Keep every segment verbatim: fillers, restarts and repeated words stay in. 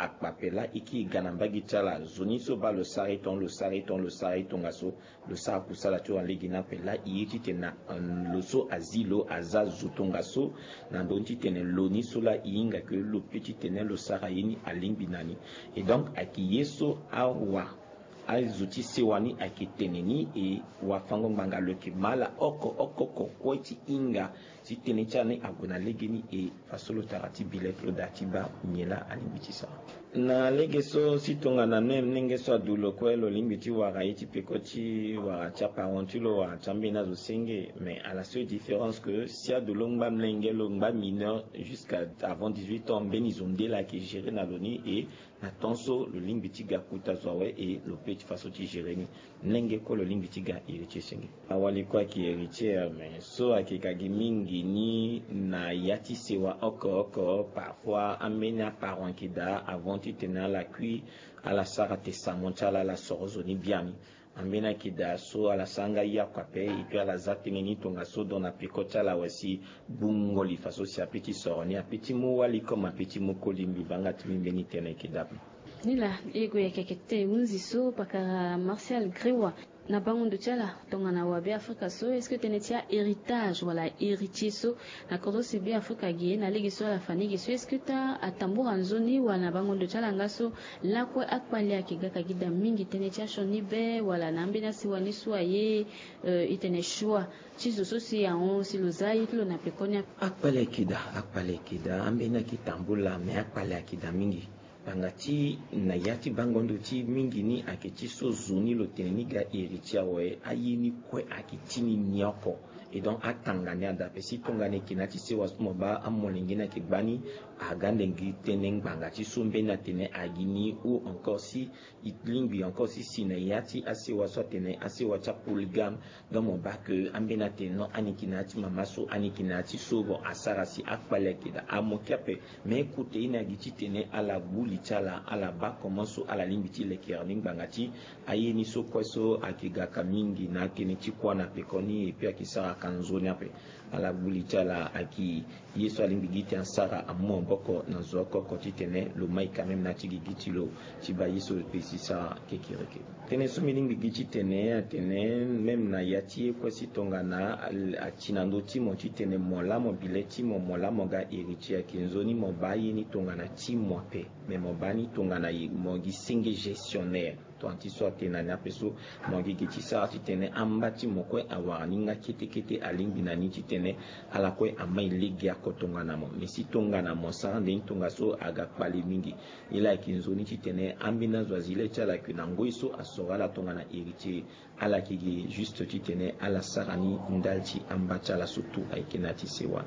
akpa ape laa e kiri ga na mbage ti ala. Zo ni so baa lo sara e tonga lo sara e tonga lo sara e tongaso, lo sara kusala ti lo na lege ni ape laa e ye titene na lo so azi lo aza zo tongaso. Na ndoni titene lo ni so laa e hinga ke lo pe titene lo sara ye ni alingbi na ni. Et donc ayeke ye so awa azo ti sewa ni ayeke tene ni e wafango ngbanga lo yeke ma ala oko oko oko kue ti hinga ti tënë ti ala ni ague na legeni e faso lo tara ti bi lê ti lo daa ti baa nyen laa alingbi ti sara. Na lege so si tongana même lenge so adu lo kue lo lingbi ti wara ye ti peko ti wara ti aparent ti lo wala ti ambeni azo senge. Mais ala so e différence ke si adu lo ngba mlenge lo ngba mineur jusqu'à avant dix-huit ans mbeni zo nde laa ayeke gérer na lo ni e na temps so lo lingbi ti ga kota zo awe e lo pe ti faso ti gérer ni. Lenge kue lo lingbi ti ga héritier senge. Awali kue ayeke héritier mais so ayeke ga gi mingi ni na ya ti sewa oko oko parfois ambeni aparent ayeke daa avant titene ala kui ala sara testament ti ala ala soro zo ni biani. Ambeni ayeke daa so ala sara nga ye oko ape et puis ala za tënë ni tongaso donc na peko ti ala awe si gbungo li faso si ape ti soro ni ape ti mu wali comme ape ti mu koli mbi baa nga ti mbi mbeni tënë ayeke daa ape. Ni laa e gue ayeke ayeke titene hunzi so pakara Martial Grewa. Na bango ndo ti ala tongana wa Beafrika so est-ce que tënë ti ahéritage wala héritier so na kodro si Beafrika gi na lege so ala fa ni gi so est-ce que ti atambura nzoni wala na bango ndo ti ala nga so lakue akpale ayeke ga ka gi daa mingi tënë ti asioni be wala na ambeni asewa ni so aye e tene choix ti zo so si ahon si lo za aye ti lo na pekoni ape. Akpale ayeke daa akpale ayeke daa ambeni ayeke tambula mais akpale ayeke daa mingi. Ngbanga ti na ya ti bango ndo ti mingi ni ayeke ti so zo ni lo tene ni ga héritier awe aye ni kue ayeke ti ni ni oko. Et donc atanga ni ada ape si tongana eke na ya ti sewa so mo baa amolenge ni ayeke gbani aga nde gi tënë ngbanga ti so mbeni atene agi ni ou encore si e lingbi encore si si na ya ti asewa so atene asewa ti apolygame. Donc mo baa ke ambeni atene non ani yeke na ya ti mama so ani yeke na ya ti so bon asara si akpale ayeke daa amoke ape. Mais kota ye ni agi titene ala gbu li ti ala ala baa comment so ala lingbi ti lekere ni ngbanga ti aye ni so kue so ayeke ga ka mingi na atënë ti kuâ na pekoni et puis ayeke sara ka nzoni ape. Ala gbu li ti ala ayeke ye so alingbi gi ti asara amu maboko na zo oko oko titene lo mai quand même na ya ti gigi ti lo ti baa ye so lo pe si sara kekereke. Tënë so mbi lingbi gi titene atene même na ya ti ye kue si tongana ati na ndö ti mo titene mo laa mo bi lê ti mo mo laa mo ga héritier ayeke nzoni mo baa ye ni tongana ti mo ape. Mais mo baa ni tongana mo gi senge gestionnaire. Tongana ti so atene na ni ape so mo gi gi ti sara titene amba ti mo kue awara ni nga kete kete alingbi na ni titene ala kue amai lege oko tongana mo mais si tongana mo sara nde ni tongaso aga kpale mingi. Ye laa ayeke nzoni titene ambeni azo azi lê ti ala ayeke na ngoi so asoro ala tongana héritier. Ala yeke gi juste titene ala sara ni ndali ti amba ti ala so tout ayeke na ya ti sewa.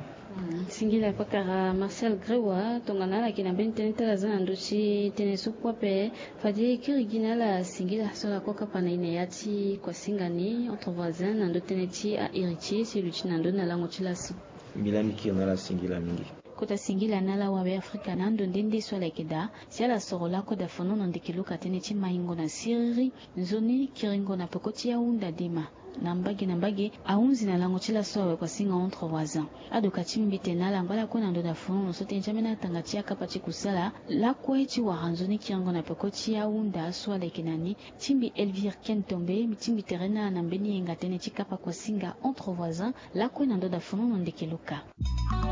Singila pakara Martial Grewa tongana ala yeke na mbeni tënë ti ala za na ndö ti tënë so kue ape. Fade kiri gi na ala singila so ala kue kapa na e na ya ti kuasinga ni entre voisins na ndö tënë ti ahéritier si lo ti na ndö ni na lango ti laso. Mbi laa mbi kiri na ala singila mingi. Kota singila na ala wa Beafrika na ando nde nde so ala yeke daa si ala soro lakue daa fonono ndeke luka tënë ti maingo na siriri. Nzoni kiringo na peko ti ahunda dema na mbage na mbage ahunzi na lango ti laso awe kuasinga entre voisins. Ado ka ti mbi tene na ala ngba lakue na ndo daa fonono so tënë ti ambeni atanga ti akapa ti kusala lakue ti wara nzoni kiringo na peko ti ahunda so ala yeke na ni. Ti mbi Elvire Ken Tombe mbi ti mbi tere na ala na mbeni yenga tënë ti kapa kuasinga entre voisins lakue na ndo daa fonono ndeke luka.